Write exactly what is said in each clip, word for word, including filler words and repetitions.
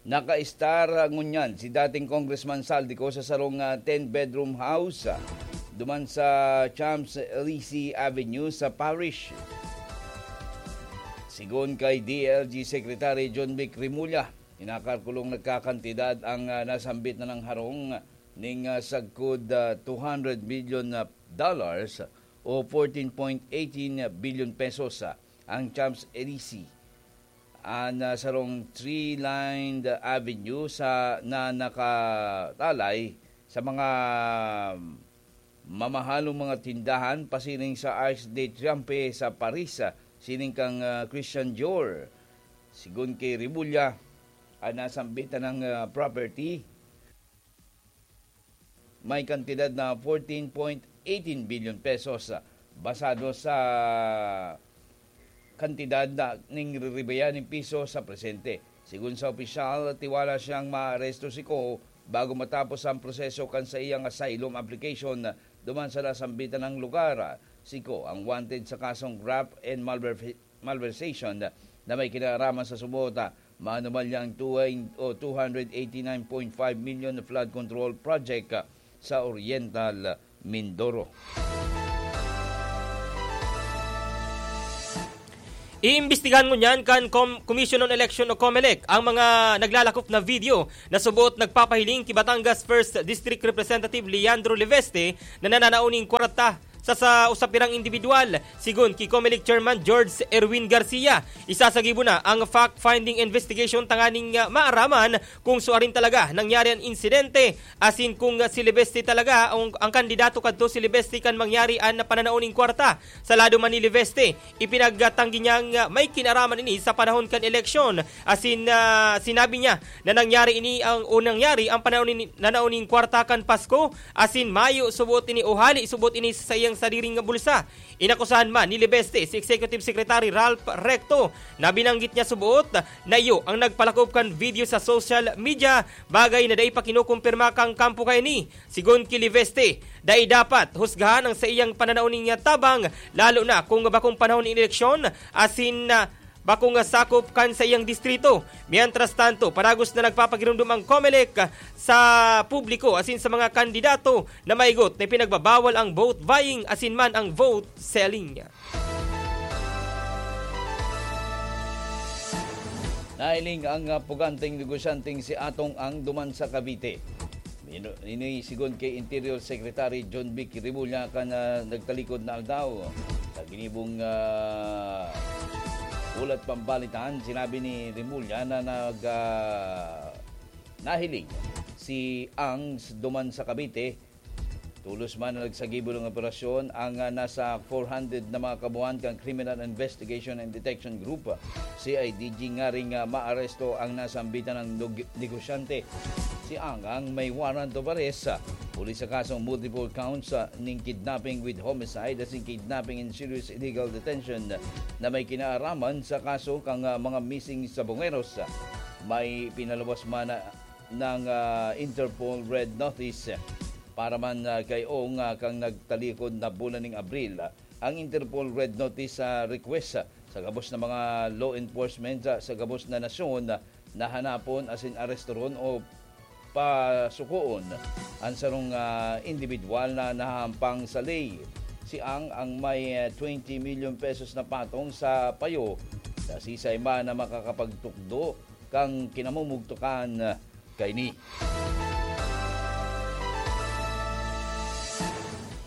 Naka-star ngunyan si dating Congressman Zaldy Co sa sarong, ah, ten-bedroom house, ah, duman sa Champs-Élysées Avenue sa Paris. Sigon kay D L G Secretary Jonvic Remulla, kinakalkulong nagkakantidad ang, ah, nasambit na ng harong ning, ah, sagkod, ah, two hundred million, ah, dollars o fourteen point eighteen billion pesos, ah, ang Champs-Élysées. An, ah, sarong three-lined avenue sa, na nakatalay sa mga mamahalong mga tindahan pasiring sa Arc de Triomphe sa Paris, ah, siring kan, ah, Christian Dior. Sigon ki Remulla, an nasambitan na, ah, property may kantidad na fourteen point eighteen billion pesos, basado sa kantidad na ning riribayan nin piso sa presente. Sigon sa opisyal, tiwala siyang maaresto si Co bago matapos ang proseso kan sa iyang asylum application duman sa nasambitan na lugar. Si Co ang wanted sa kasong graft and malver-, malversation na may kinaraman sa subota, manumalyang two, o two hundred eighty-nine point five million na flood control project sa Oriental Mindoro. Iimbestigahan ngunyan kan Com-, Commission on Election o COMELEC ang mga naglalakop na video na suboot nagpapahiling ki Batangas First District Representative Leandro Leveste na nananao ning kwarta sa, sa usa pirang individual. Sigon ki COMELEC Chairman George Erwin Garcia, isasagibo na ang fact-finding investigation tanganing, ah, maaraman kung suarin talaga nangyari an insidente, asin kung, ah, si Leveste talaga ang, ang kandidato kadto si Leveste kan mangyari an pananao ning kwarta. Sa lado man ni Leveste, ipinagtanggi niyang, ah, may kinaraman ini sa panahon kan eleksyon. Asin, ah, sinabi niya na nangyari ini ang, o nangyari ang pananao ni, nanao ning kwarta kan Pasko, asin mayo suboot ini o hali suboot ini sa iyang sadiring nga bulsa. Inakusahan man ni Leveste si Executive Secretary Ralph Recto na binanggit niya suboot na iyo ang nagpalakop kan video sa social media, bagay na dai pa kinukumpirma kan kampo kaini. Sigon ki Leveste, dai dapat husgahan ang saiyang pananao nin tabang, lalo na kung bakong panahon nin eleksyon, asin, ah, bakong sakop kan saiyang distrito. Mientras tanto, padagos na nagpapagiromdom ang COMELEC sa publiko asin sa mga kandidato na maigot na ipinagbabawal ang vote buying asin man ang vote selling. Nahiling ang, ah, puganteng negosyanteng si Atong Ang duman sa Cavite. Ino-, ini sigon kay Interior Secretary Jonvic Remulla kan, ah, nagtalikod na aldaw. Sa ginibong, ah, hulat pambalitaan, sinabi ni Remulla na nag, ah, nahiling si Ang duman sa Cavite. Tolos man na nagsagibo nin operasyon ang, ah, nasa four hundred na mga kabuhan kan Criminal Investigation and Detection Group, C I D G, ngaring, ah, maaresto ang nasambitan na neg-, negosyante. Si Ang Ang may warrant of arrest, ah, huli sa kasong multiple counts, ah, nin kidnapping with homicide asin kidnapping in serious illegal detention na may kinaaraman sa kaso kan, ah, mga missing sa Bongeros. May pinaluwas man na ng, ah, Interpol Red Notice. Para man, ah, kay Ong, ah, kan nagtalikod na bulan ning Abril, ah, ang Interpol Red Notice, ah, request, ah, sa gabos na mga law enforcement, ah, sa gabos na nasyon, ah, na hanapon asin arestoron o pasukoon ang sarong, ah, indibidwal na nahahampang sa ley. Si Ang ang may, ah, twenty million pesos na patong sa payo sa sisay man na makakapagtukdo kan kinamumugtukan kaini.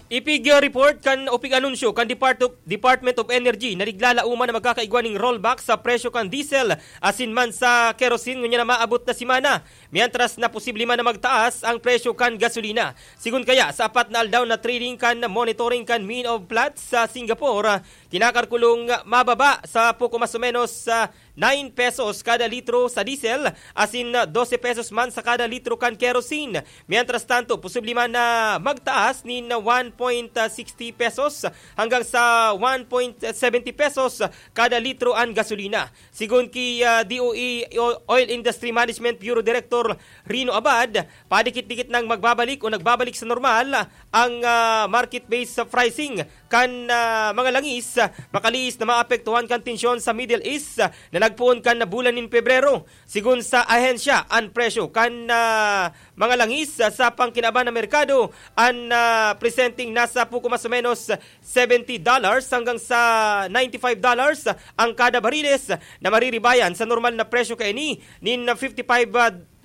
Ipig-report kan o pig-anunsyo kan Depart-, Department of Energy na naglalauman na magkakaigwa ning rollback sa presyo kan diesel asin man sa kerosene ngunyan na maabot na semana, mientras na posible man na magtaas ang presyo kan gasolina. Sigon kaya, sa apat na aldaw na trading kan monitoring kan Mean of Platts sa Singapore, kinakalkulong mababa sa poko mas o menos sa nine pesos kada litro sa diesel, asin dose pesos man sa kada litro kan kerosene. Mientras tanto, posible man na magtaas nin one point sixty pesos hanggang sa one point seventy pesos kada litro an gasolina. Sigon ki, ah, D O E o-, Oil Industry Management Bureau Director Rino Abad, padikit-dikit nang magbabalik o nagbabalik sa normal ang, ah, market-based pricing kan, ah, mga langis makalihis na maapektuhan kan tensyon sa Middle East na nagpoon kan bulan nin Pebrero. Sigon sa ahensya, an presyo kan, ah, mga langis sa pangkinaban na merkado an, ah, presenteng nasa puko mas o menos seventy dollars hanggang sa ninety-five dollars ang kada bariles na mariribayan sa normal na presyo kaini nin fifty-five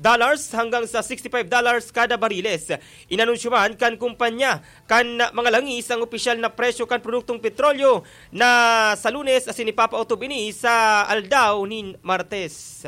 dollars hanggang sa sixty-five dollars kada bariles. Inanunsyo man kan kumpanya kan mga langis ang opisyal na presyo kan produktong petrolyo na sa Lunes asin ipapautob ini sa aldaw nin Martes.